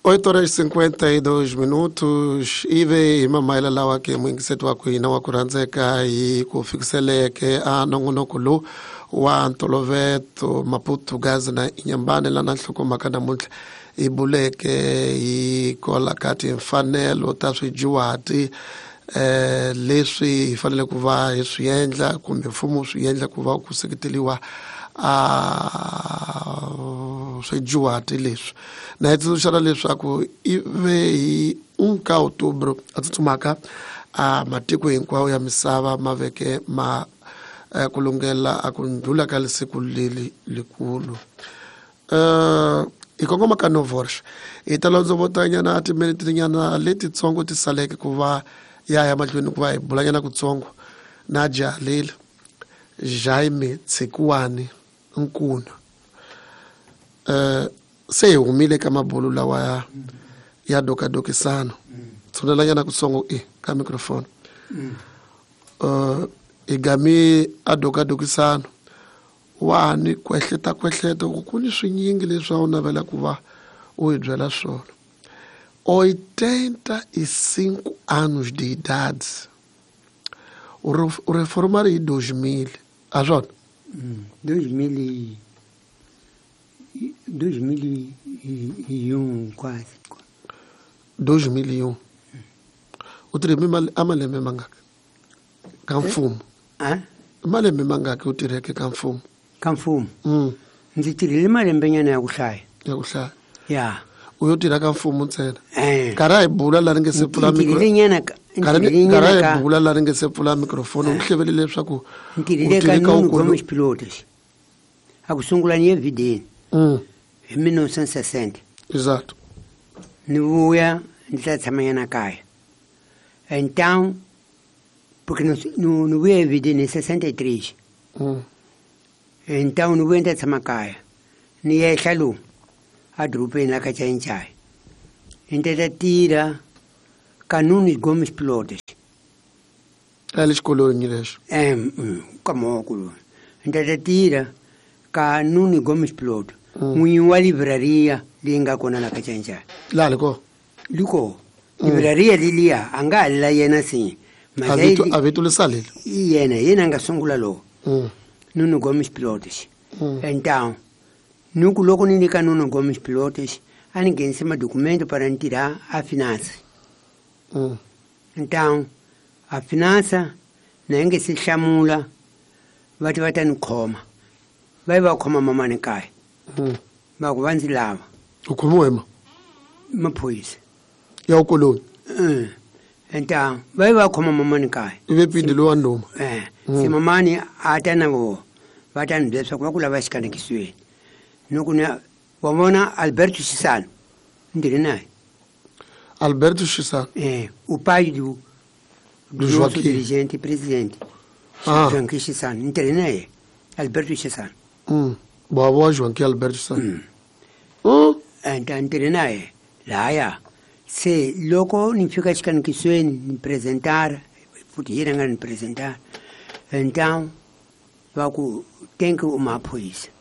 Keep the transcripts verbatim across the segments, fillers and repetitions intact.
oito horas e cinquenta e dois minutos ive hi mamayela lawa ke muyingiseti wa ku hina wa ku rhandzeka hi ku fikiseleke a nongonoko lowu wa ntoloveto Maputo Gaza na Inhambane lana nhlokomhaka namuntlha hi buleke hi kola ka timfanelo ta swidyuhati eh leswi hi fanele ku va hi swi endla kumbe mfumo swi endla ku va ku seketeliwa a swidyuhati leswi na hi tsundzuxana leswaku i ve hi um ka outubro a tsutsumaka a matiko hinkwawo ya misava ma veke ma ku lunghela a ku ndlula ka siku leri likulu. Uh, hi kongoma ka Novorsh hi ta londzovotanyana timinete nyana letitsongo ti saleke ku va ya ya mahlweni ku va hi bulanyana kutsongo na jaha Jaime Tshikuwani Nkuna. Uh, se hi humile ka mabulu lawa ya, ya dokadokisano tshunelanyana kutsongo e ka microphone. Uh, hi gami a dokadokisano wa ni kwehleta kwehleta ku ku ni swinyingi leswi a wu navela ku va u hi byela swona. oitenta e cinco anos de idade. O reformar em dois mil. Ah, João? dois mil e dois mil e um quase. dois mil e um. O treme amalembe mangaka. Kamfumo. Ah? Malembe mangaka o tireke kamfumo. Kamfumo. Mm. Ndzi tirhile malembe nyana ya ku hlaya. Ya ku hlaya. Ya. U yo tirha ka mfumo ntsena. Eh. Karhi hi bula la ri nge se pfula mikro. Nyana karhi hi bula la ri nge se pfula microphone u hlevele leswaku u tirhile ka Nuno Gomes Pilotos. A ku sungula ni evideni. Mm. Hi mil novecentos e sessenta. Exato. Ni vuya ndzi ta tshama nyana kaya. Então, porque no no no vuya evideni em sessenta e três. Mm. Então ni vuya ndzi ta tshama kaya. Ni yehla lomu a dorobeni la ka Chayinchayi. Ni ta tirha ka Nuno Gomes Pilotos. A le xikolweni lexo. Eh, ka moko lowu. Ni ta tirha ka Nuno Gomes Pilotos. N'winyi wa livraria leyi nga kona la ka Chayinchayi. Laha li kona? Li kona. Livraria leliya a nga ha la yena sinye. A vito li salile? I yena, hi yena a nga sungula lowu. Nuno Gomes Pilotos. Então, nuku loko ni nyika Nuno Gomes Pilotos, a ni nghenise madocumento para ni tirha a finance. Mm. Então, a finança na yi nge se hlamula va ti va ta ni khoma. Va yi va khoma mamani kaya. Mm. Va ku va ndzi lava. U khomiwe ma? Maphorisa. Ya u koloni? Mm. Então, va yi va khoma mamani kaya. I ve pindi lowa nduma. Eh, se mamani a ta na vona va ta ni byela leswaku va ku lava xikanekisiweni. Nuku ni wa vona Alberto Chissano. Ni tirhe naye. Alberto Chissano. Eh, o pai do do nosso dirigente e presidente. Ah. Joaquim Chissano. Ni tirhe naye. Alberto Chissano. Mm. Boa Joaquim Alberto Chissano. Mm. Mm. Então ni tirhe naye. Laya. Se loko ni fika xikanekisiweni ni apresentar, futhi yena nga ni apresentar. Então va ku tem que uma polícia.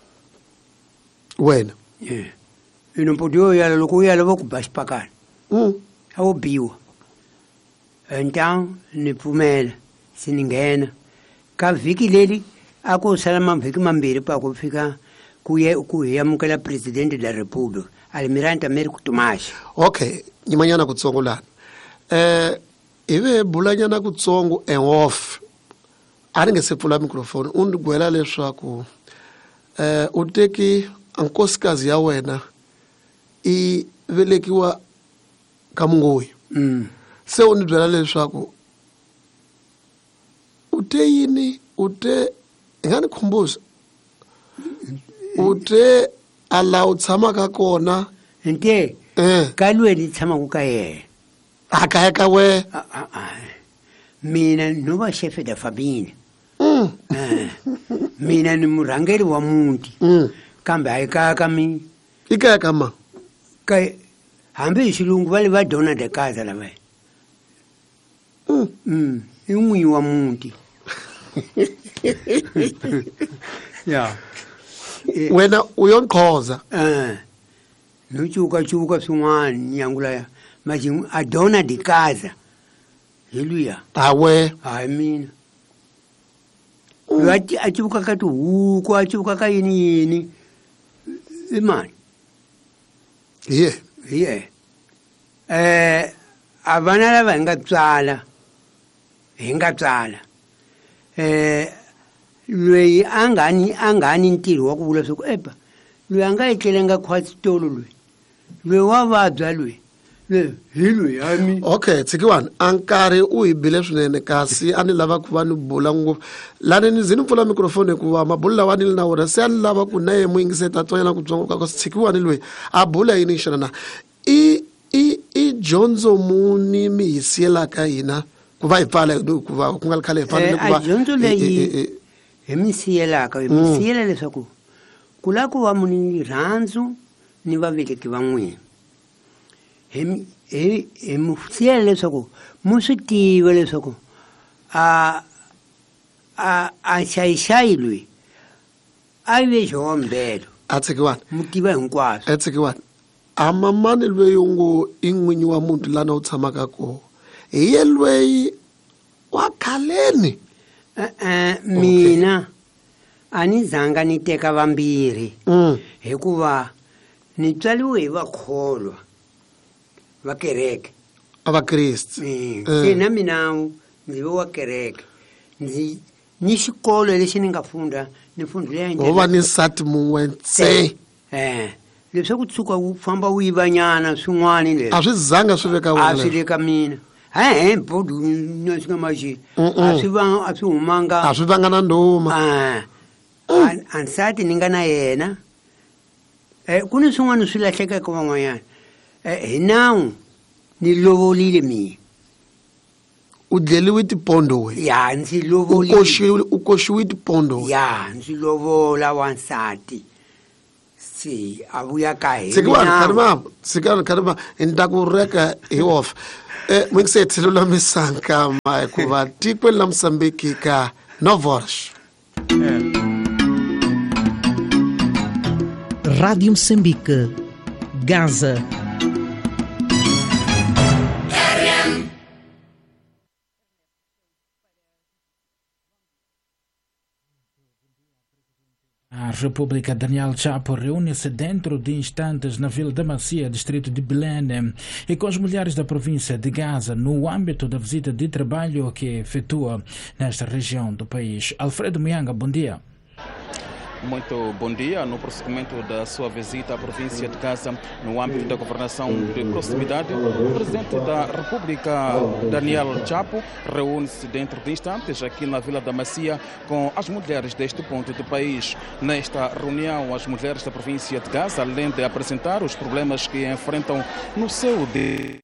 Wena. Eh. E não podia olhar loko u ya va ku ba xipakana. Mm. A wo biwa. Então ni pfumela se ni nghena. Ka vhiki leri a ku sala mavhiki mambirhi pa ku fika ku ye ku hi amukela presidente da República, Almirante Américo Tomás. Okay, nyimanyana kutsongo lana. Eh, ive bulanyana kutsongo en off. A ri nge se pfula microphone u ni gwela leswaku eh u teki nkosikazi ya wena i velekiwa ka Mungoyi. Mm. Se u ni byela leswaku u te yini u te i nga ni khumbuza u te a laha u tshamaka kona nte eh ka lweni ni tshamaka ka yena a kaya ka we mina no va chefe da família. Mm. Eh, mina ni murhangeri wa muti. Mm. Kambe a hi kaya ka mina. I kaya ka ma? Ka hambi hi xilungu va le va dona de casa lavaya. Mm. Mm. I n'winyi wa muti. Ya. Wena u yo nqhoza. Eh. No cuvuka-cuvuka swin'wana nyangu laya mas a dona de casa hi luya awe hayi mina loyi a cuvuka ka tihuku a cuvuka ka yini yini i mani hi ye hi ye eh a vana lava hi nga tswala hi nga tswala eh loyi a nga ni a nga ni ntirho wa ku vula swa ku epa loyi a nga etlelenga khwatsi tolo loyi loyi wa vabya loyi loyi hi loyi a mi okay tshikiwani a nkarhi u hi bile swinene kasi a ni lava ku va ni bula ngopfu lani ni ze ni pfula microphone hikuva mabulu lawa ni li na wona se a ni lava ku na ye muyingiseti a twanyana ku tsongo ka tshikiwani loyi a bula yini xana na i i i dyondzo muni mi hi siyelaka hina ku va hi pfala hikuva ku nga ri khale hi fanele ku va a dyondzo leyi hi mi siyelaka hi mi siyela leswaku ku lava ku va muni rirhandzu ni vaveleki va n'wina hi hi hi mi siyela leswaku mu swi tiva leswaku a a a xayixayi loyi a ve xihombelo a tshikiwani mu tiva hinkwaswo a tshikiwani a mamani loyi u ngo i n'winyi wa muti lana u tshamaka kona hi ye loyi wa khaleni e-e mina a ni zanga ni teka vambirhi hikuva ni tswaliwe hi vakholwa va kereke a vakreste se na mina ndzi ve wa kereke ndzi ni xikolo lexi ni nga funda ni fundhile wo va ni nsati mun'we ntse eh leswaku tshuka wu famba wu yivanyana swin'wana leswi a swi zanga swi veka a swi le ka mina he bodu na swi nga maxi a swi va a swi humanga a swi vanga na ndhuma a a nsati ni nga na yena eh ku ni swin'wana swi lahlekaka van'wanyana hi nawu ni lovolile mina u dleliwe tipondo we ya ndzi lovolile u koxiwe u koxiwe tipondo ya ndzi lovola wansati si a vuya ka hina tshikiwani kharima tshikani kharima ni ta ku reka hi off eh muyingiseti lulamisa nkama hikuva tikweni la Mosambiki ka Novors. Rádio Moçambique, Gaza. A República Daniel Chapo reúne-se dentro de instantes na Vila da Macia, distrito de Bilene, e com as mulheres da província de Gaza, no âmbito da visita de trabalho que efetua nesta região do país. Alfredo Mianga, bom dia. Muito bom dia. No prosseguimento da sua visita à província de Gaza, no âmbito da governação de proximidade, o presidente da República, Daniel Chapo, reúne-se dentro de instantes aqui na Vila da Macia com as mulheres deste ponto do país. Nesta reunião, as mulheres da província de Gaza, além de apresentar os problemas que enfrentam no seu dia